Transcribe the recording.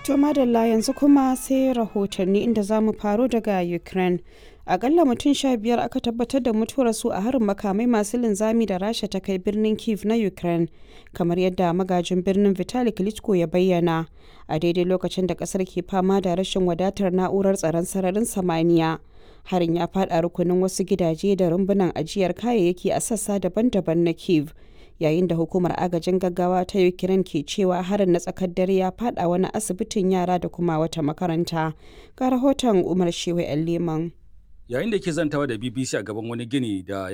To madalla, yanzu kuma sai rahotanni, inda za mu faro daga Ukraine. Akalla mutum 15 aka tabbatar da mutuwarsu a harin makamai masu linzami da Rasha ta kai birnin Kiev na Ukraine, kamar yadda magajin birnin Vitali Klitschko ya bayyana, a daidai lokacin da kasar ke fama da rashin wadatar na'urar tsaron sararin samaniya. Harin ya faɗa rukunin wasu gidaje da rumbunan ajiyar kayayyaki a sassa daban-daban na Kiev, yayin da hukumar agajin gaggawa ta Ukraine ke cewa harin na tsakar dare ya fada wani asibitin yara da kuma wata makaranta. Ga rahoton Umar Shehu Leman. Yayin da ke zantawa da BBC a gaban wani gini da